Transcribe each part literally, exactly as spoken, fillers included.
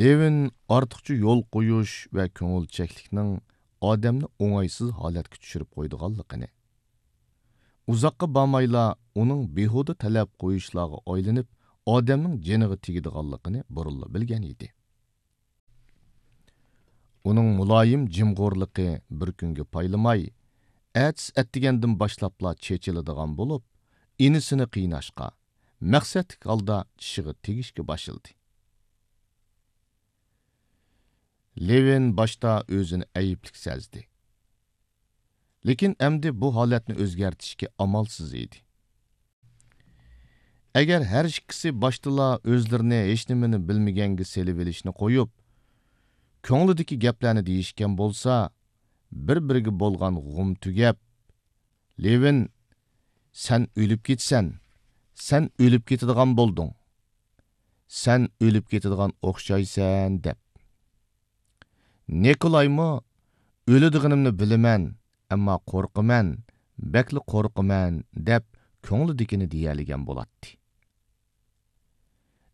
لېۋىن ئارتۇقچە يول قويۇش ۋە كۆڭۈلچەكلىكنىڭ ئادەمنى ئوڭايسىز ھالەتكە چۈشۈرۈپ قويىدىغانلىقىنى، ئۇزاققا بارمايلا ئۇنىڭ بىھۇدە تەلەپ قويۇشلارغا ئايلىنىپ، ئادەمنىڭ جېنىغا تېگىدىغانلىقىنى بۇرۇنلا بىلگەن ئىدى. ئۇنىڭ مۇلايىم جىمغورلۇقى بىر كۈنگە پايلىماي، ئەتىسى ئەتىگەندىن باشلاپلا چېچىلىدىغان بولۇپ، ئىنىسىنى قىيناشقا، مەقسەتلىك ھالدا چىشىغا تېگىشكە باشلىدى. لېۋىن باشتا ئۆزىنى ئەيىبلىك سەزدى. لېكىن ئەمدى بۇ ھالەتنى ئۆزگەرتىشكە ئامالسىز ئىدى. ئەگەر ھەر ئىككىسى باشتىلا ئۆزلىرىنى ھېچنېمىنى بىلمىگەنگە سېلىۋېلىشنى قويۇپ، كۆڭلىدىكى گەپلەرنى دېيىشكەن بولسا، بىر-بىرىگە بولغان غۇم تۈگەپ، لېۋىن، سەن ئۆلۈپ كېتىسەن، سەن ئۆلۈپ كېتىدىغان بولدۇڭ، سەن ئۆلۈپ كېتىدىغان ئوخشايسەن، دەپ. نىكولايمۇ، ئۆلىدىغىنىمنى بىلىمەن، ئەمما قورقىمەن، بەكلا قورقىمەن، دەپ كۆڭلىدىكىنى دېيەلىگەن بولاتتى.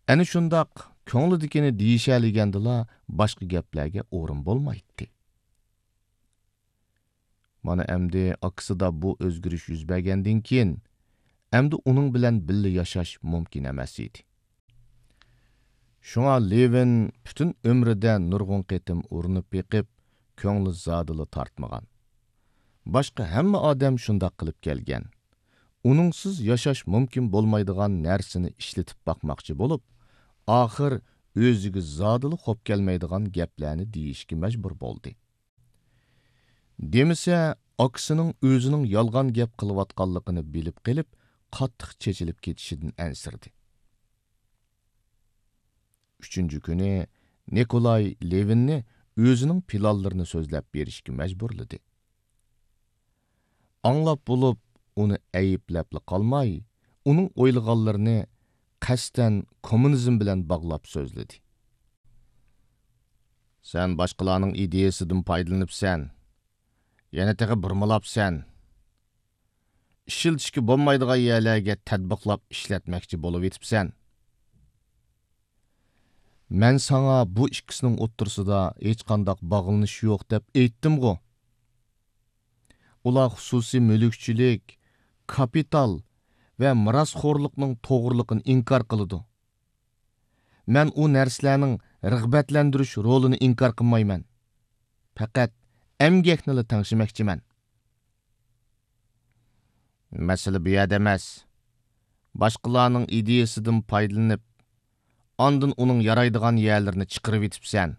ئەنە شۇنداق كۆڭلىدىكىنى دېيىشەلىگەندىلا باشقا گەپلەرگە ئورۇن بولمايتتى. مانا ئەمدى ئاكىسىدا بۇ ئۆزگىرىش يۈز بەرگەندىن كېيىن، ئەمدى ئۇنىڭ بىلەن بىللە ياشاش مۇمكىن ئەمەس ئىدى. شۇڭا لېۋىن پۈتۈن ئۆمرىدە نۇرغۇن قېتىم ئۇرۇنۇپ بېقىپ، كۆڭلى زادىلا تارتمىغان. باشقا ھەممە ئادەم شۇنداق قىلىپ كەلگەن. ئۇنىڭسىز ياشاش مۇمكىن بولمايدىغان نەرسىنى ئىشلىتىپ باقماقچى بولۇپ، ئاخىر ئۆزىگە زادىلا خوپ كەلمەيدىغان گەپلەرنى دېيىشكە مەجبۇر بولدى. دېمىسە، ئاكىسىنىڭ ئۆزىنىڭ يالغان گەپ قىلىۋاتقانلىقىنى بىلىپ قېلىپ، قاتتىق چېچىلىپ كېتىشىدىن ئەنسىرىدى. ئۈچىنچى كۈنى نىكولاي لېۋىننى ئۆزىنىڭ پىلانلىرىنى سۆزلەپ بېرىشكە مەجبۇرلىدى. ئاڭلاپ بولۇپ، ئۇنى ئەيىبلەپلا قالماي، ئۇنىڭ ئويلىغانلىرىنى قەستەن كوممۇنىزم بىلەن باغلاپ سۆزلىدى. سەن باشقىلارنىڭ ئىدىيەسىدىن پايدىلىنىپسەن. يەنە تېخى بۇرمىلاپسەن. ئىشلىتىشكە بولمايدىغان يەرلەرگە تەتبىقلاپ ئىشلەتمەكچى بولۇۋېتىپسەن. مەن ساڭا بۇ ئىككىسىنىڭ ئوتتۇرىسىدا ھېچقانداق باغلىنىش يوق دەپ ئېيتتىمغۇ؟ ئۇلار خۇسۇسىي مۈلۈكچىلىك، كاپىتال ۋە مىراسخورلۇقنىڭ توغرىلىقىنى ئىنكار قىلىدۇ. مەن ئۇ نەرسىلەرنىڭ رىغبەتلەندۈرۈش رولىنى ئىنكار قىلمايمەن. پەقەت ئەمگەكنىلا تەڭشىمەكچىمەن. مەسىلە بۇ يەردە ئەمەس. باشقىلارنىڭ ئىدىيەسىدىن پايدىلىنىپ، ئاندىن ئۇنىڭ يارايدىغان يەرلىرىنى چىقىرىۋېتىپسەن.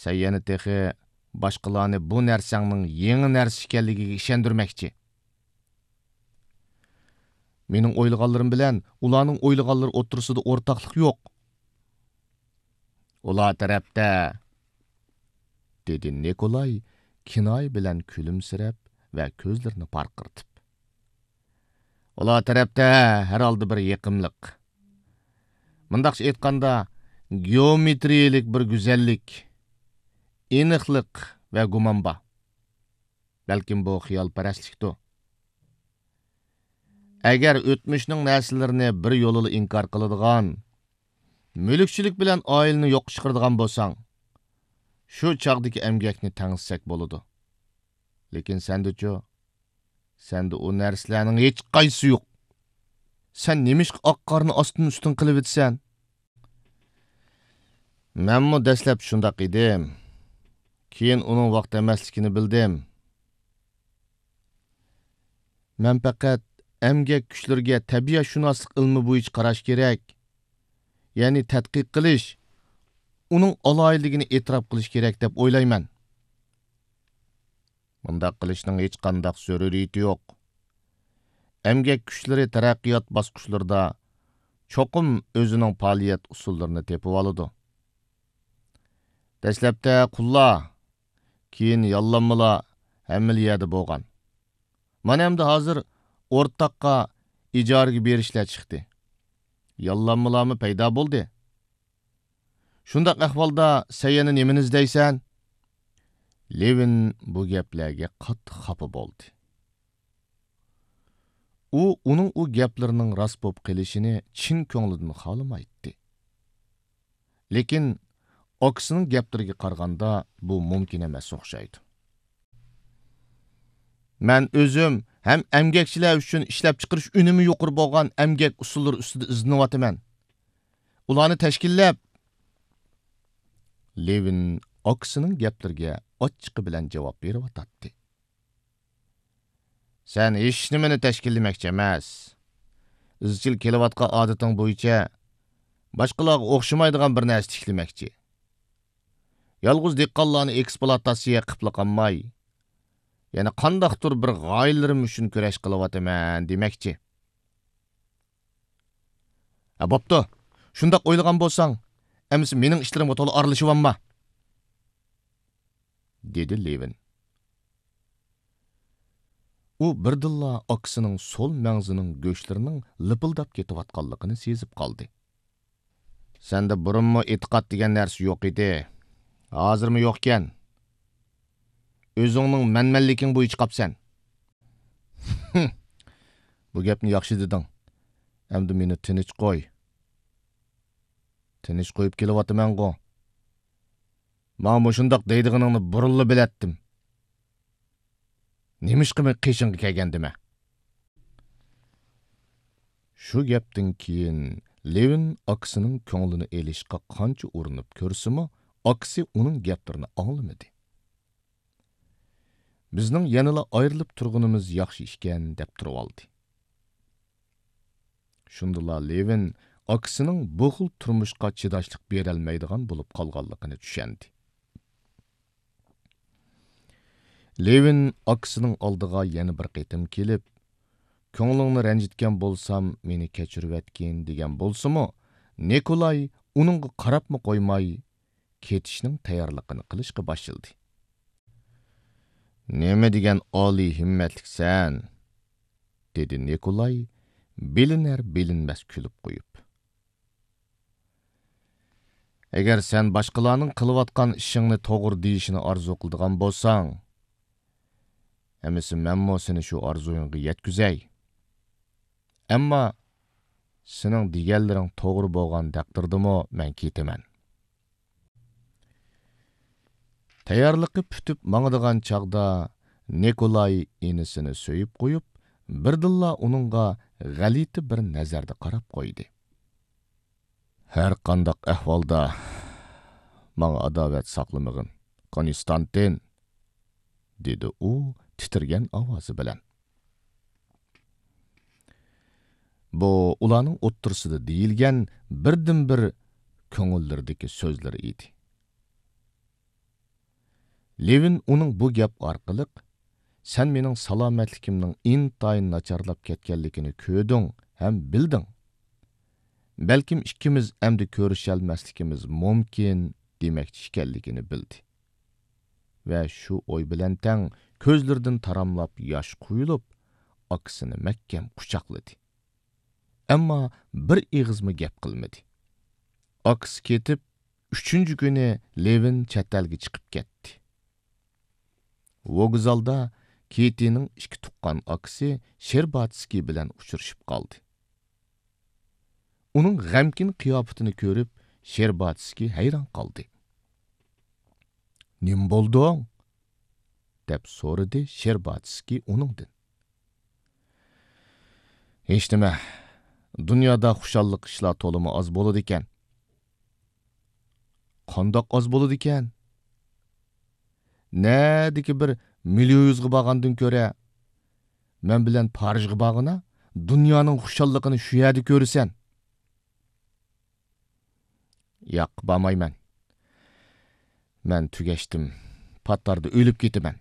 سەن يەنە تېخى باشقىلارنى بۇ نەرسەڭنىڭ يېڭى نەرسە ئىكەنلىكىگە ئىشەندۈرمەكچى. مېنىڭ ئويلىغانلىرىم بىلەن ئۇلارنىڭ ئويلىغانلىرى ئوتتۇرىسىدا ئورتاقلىق يوق. ئۇلار تەرەپتە، دېدى نىكولاي كىنايە بىلەن كۈلۈمسىرەپ ۋە كۆزلىرىنى پارقىرىتىپ. ئۇلار تەرەپتە ھەر ھالدا بىر يېقىملىق، مۇنداقچە ئېيتقاندا، گېئومېترىيەلىك بىر گۈزەللىك، ئېنىقلىق ۋە گۇمان بار. بەلكىم بۇ خىيالپەرەسلىكتۇر. ئەگەر ئۆتمۈشنىڭ نەرسىلىرىنى بىر يولىلا ئىنكار قىلىدىغان، مۈلۈكچىلىك بىلەن ئائىلىنى يوققا چىقىرىدىغان بولساڭ، شۇ چاغدىكى ئەمگەكنى تەڭشىسەك بولىدۇ. لېكىن سەندىچۇ؟ سەندە ئۇ نەرسىلەرنىڭ ھېچقايسىسى يوق. سەن نېمىشقا ئاق قارنى ئاستىن ئۈستۈن قىلىۋېتىسەن؟ مەنمۇ دەسلەپ شۇنداق ئىدىم. كېيىن ئۇنىڭ ۋاقتى ئەمەسلىكىنى بىلدىم. مەن پەقەت ئەمگەك كۈچلىرىگە تەبىئەتشۇناسلىق ئىلمى بويىچە قاراش كېرەك، يەنى تەتقىق قىلىش، ئۇنىڭ ئالاھىدىلىكىنى ئېتىراپ قىلىش كېرەك دەپ ئويلايمەن. مۇنداق قىلىشنىڭ ھېچقانداق زۆرۈرىيىتى يوق. ئەمگەك كۈچلىرى تەرەققىيات باسقۇچلىرىدا چوقۇم ئۆزىنىڭ پائالىيەت ئۇسۇللىرىنى تېپىۋالىدۇ. دەسلەپتە قۇللار، كېيىن ياللانمىلار ھەممىلا يەردە بولغان. مانا ئەمدى ھازىر ئورتاققا ئىجارىگە بېرىشلەر چىقتى. ياللانمىلارمۇ پەيدا بولدى. شۇنداق ئەھۋالدا سەن يەنە نېمىنى ئىزدەيسەن؟ لېۋىن بۇ گەپلەرگە قاتتىق خاپا بولدى. ئۇ ئۇنىڭ ئۇ گەپلىرىنىڭ راست بولۇپ قېلىشىنى چىن كۆڭلىدىن خالىمايتتى. لېكىن ئاكىسىنىڭ گەپلىرىگە قارىغاندا، بۇ مۇمكىن ئەمەس ئوخشايدۇ. مەن ئۆزۈم ھەم ئەمگەكچىلەر ئۈچۈن ئىشلەپچىقىرىش ئۈنۈمى يۇقىرى بولغان ئەمگەك ئۇسۇللىرى ئۈستىدە ئىزدىنىۋاتىمەن. ئۇلارنى تەشكىللەپ، لېۋىن ئاكىسىنىڭ گەپلىرىگە ئاچچىقى بىلەن جاۋاب بېرىۋاتاتتى. سەن ھېچنېمىنى تەشكىللىمەكچى ئەمەس. ئىزچىل كېلىۋاتقان ئادىتىڭ بويىچە باشقىلارغا ئوخشىمايدىغان بىر نەرسە تىكلىمەكچى. يالغۇز دېھقانلارنى ئېكسپلۇئاتاتسىيە قىپلا قالماي، يەنە قانداقتۇر بىر غايىلىرىم ئۈچۈن كۈرەش قىلىۋاتىمەن دېمەكچى. ھە، بوپتۇ. شۇنداق ئويلىغان بولساڭ، ئەمىسە مېنىڭ ئىشلىرىمغا تولا ئارىلىشىۋالما، دېدى لېۋىن. ئۇ بىردىنلا ئاكىسىنىڭ سول مەڭزىنىڭ گۆشلىرىنىڭ لىپىلداپ كېتىۋاتقانلىقىنى سېزىپ قالدى. سەندە بۇرۇنمۇ ئېتىقاد دېگەن نەرسە يوق ئىدى. ھازىرمۇ يوقكەن. ئۆزۈڭنىڭ مەنمەنلىكىڭ بويىچە قاپسەن. بۇ گەپنى ياخشى دېدىڭ. ئەمدى مېنى تىنچ قوي. تىنچ قويۇپ كېلىۋاتىمەنغۇ. ماڭا مۇشۇنداق دەيدىغىنىڭنى بۇرۇنلا بىلەتتىم. نېمىشقا مەن قېشىڭغا كەلگەندىمەن؟ شۇ گەپتىن كېيىن لېۋىن ئاكىسىنىڭ كۆڭلىنى ئېلىشقا قانچە ئۇرۇنۇپ كۆرسىمۇ، ئاكىسى ئۇنىڭ گەپلىرىنى ئاڭلىمىدى. بىزنىڭ يەنىلا ئايرىلىپ تۇرغىنىمىز ياخشى ئىكەن، دەپ تۇرۇۋالدى. شۇندىلا لېۋىن ئاكىسىنىڭ بۇ خىل تۇرمۇشقا چىداشلىق بېرەلمەيدىغان بولۇپ قالغانلىقىنى چۈشەندى. لېۋىن ئاكىسىنىڭ ئالدىغا يەنە بىر قېتىم كېلىپ، «كۆڭلۈڭنى رەنجىتكەن بولسام، مېنى كەچۈرۈۋەتكىن» دېگەن بولسىمۇ، نىكولاي ئۇنىڭغا قاراپمۇ قويماي، كېتىشنىڭ تەييارلىقىنى قىلىشقا باشلىدى. «نېمە دېگەن ئالىي ھىممەتلىكسەن!» دېدى نىكولاي بىلىنەر-بىلىنمەس كۈلۈپ قويۇپ. «ئەگەر سەن باشقىلارنىڭ قىلىۋاتقان ئىشىڭنى توغرا دېيىشىنى ئارزۇ قىلىدىغان بولساڭ، ئەمىسە مەنمۇ سېنى شۇ ئارزۇيۇڭغا يەتكۈزەي. ئەمما سېنىڭ دېگەنلىرىڭ توغرا بولغان تەقدىردىمۇ مەن كېتىمەن.» تەييارلىقى پۈتۈپ ماڭىدىغان چاغدا نىكولاي ئىنىسىنى سۆيۈپ قويۇپ، بىردىنلا ئۇنىڭغا غەلىتە بىر نەزەردە قاراپ قويدى. «ھەر قانداق ئەھۋالدا ماڭا ئاداۋەت ساقلىمىغىن، كونستانتىن!» دېدى ئۇ تىترىگەن ئاۋازى بىلەن. بۇ ئۇلارنىڭ ئوتتۇرىسىدا دېيىلگەن بىردىنبىر كۆڭۈللىرىدىكى سۆزلىرى ئىدى. لېۋىن ئۇنىڭ بۇ گەپ ئارقىلىق، «سەن مېنىڭ سالامەتلىكىمنىڭ ئىنتايىن ناچارلاپ كەتكەنلىكىنى كۆردۈڭ ھەم بىلدىڭ. بەلكىم ئىككىمىز ئەمدى كۆرۈشەلمەسلىكىمىز مۇمكىن» دېمەكچى ئىكەنلىكىنى بىلدى. ۋە شۇ ئوي بىلەن تەڭ كۆزلىرىدىن تاراملاپ ياش قۇيۇلۇپ، ئاكىسىنى مەھكەم قۇچاقلىدى. ئەمما بىر ئېغىزمۇ گەپ قىلمىدى. ئاكىسى كېتىپ، ئۈچىنچى كۈنى لېۋىن چەت ئەلگە چىقىپ كەتتى. ۋوگزالدا كېتىنىڭ ئىككى تۇغقان ئاكىسى شېرباتسكىي بىلەن ئۇچرىشىپ قالدى. ئۇنىڭ غەمكىن قىياپىتىنى كۆرۈپ، شېرباتسكىي ھەيران قالدى. «نېمە بولدۇڭ؟» دەپ سورىدى شېرباتسكىي ئۇنىڭدىن. «ھېچنېمە، دۇنيادا خۇشاللىق ئىشلار تولىمۇ ئاز بولىدىكەن.» «قانداق ئاز بولىدىكەن؟ نەدىكى بىر مىليۇيۇزغا بارغاندىن كۆرە، مەن بىلەن پارىژغا بارغىنا، دۇنيانىڭ خۇشاللىقىنى شۇ يەردە كۆرىسەن.» «ياق، بارمايمەن. مەن تۈگەشتىم. پات ئارىدا ئۆلۈپ كېتىمەن.»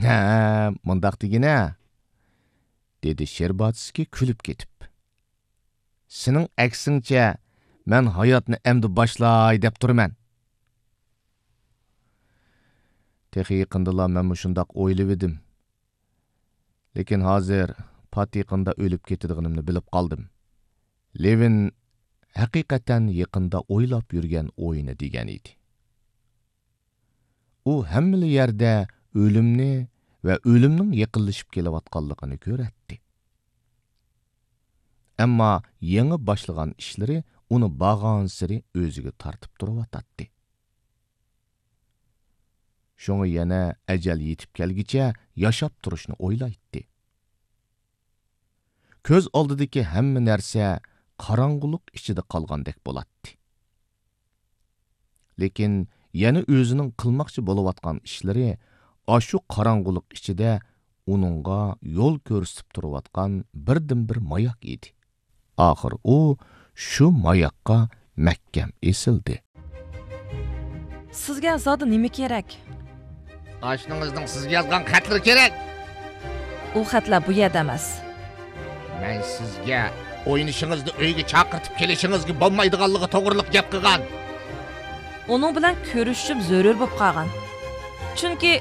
«ھە، مۇنداق دېگىنە»، دېدى شېرباتسكىي كۈلۈپ كېتىپ. «سېنىڭ ئەكسىڭچە، مەن ھاياتنى ئەمدى باشلاي دەپ تۇرىمەن.» «تېخى يېقىندىلا مەنمۇ شۇنداق ئويلىۋىدىم. لېكىن ھازىر پات يېقىندا ئۆلۈپ كېتىدىغىنىمنى بىلىپ قالدىم.» لېۋىن ھەقىقەتەن يېقىندا ئويلاپ يۈرگەن ئويىنى دېگەن ئىدى. ئۇ ھەممىلا يەردە ئۆلۈمنى ۋە ئۆلۈمنىڭ يېقىنلىشىپ كېلىۋاتقانلىقىنى كۆرەتتى. ئەمما يېڭى باشلىغان ئىشلىرى ئۇنى بارغانسېرى ئۆزىگە تارتىپ تۇرۇۋاتاتتى. شۇڭا يەنە ئەجەل يېتىپ كەلگۈچە ياشاپ تۇرۇشنى ئويلايتتى. كۆز ئالدىدىكى ھەممە نەرسە قاراڭغۇلۇق ئىچىدە قالغاندەك بولاتتى. لېكىن يەنە ئۆزىنىڭ قىلماقچى بولۇۋاتقان ئىشلىرى ئاشۇ قاراڭغۇلۇق ئىچىدە ئۇنىڭغا يول كۆرسىتىپ تۇرۇۋاتقان بىردىنبىر ماياك ئىدى. ئاخىر ئۇ شۇ ماياققا مەھكەم ئېسىلدى. سىزگە زادى نېمە كېرەك؟ ئاشنىڭىزنىڭ سىزگە يازغان خەتلىرى كېرەك. ئۇ خەتلەر بۇ يەردە ئەمەس. مەن سىزگە ئوينىشىڭىزنى ئۆيگە چاقىرتىپ كېلىشىڭىزگە بولمايدىغانلىقى توغرىلىق گەپ قىلغان. ئۇنىڭ بىلەن كۆرۈشۈشۈم زۆرۈر بولۇپ قالغان. چۈنكى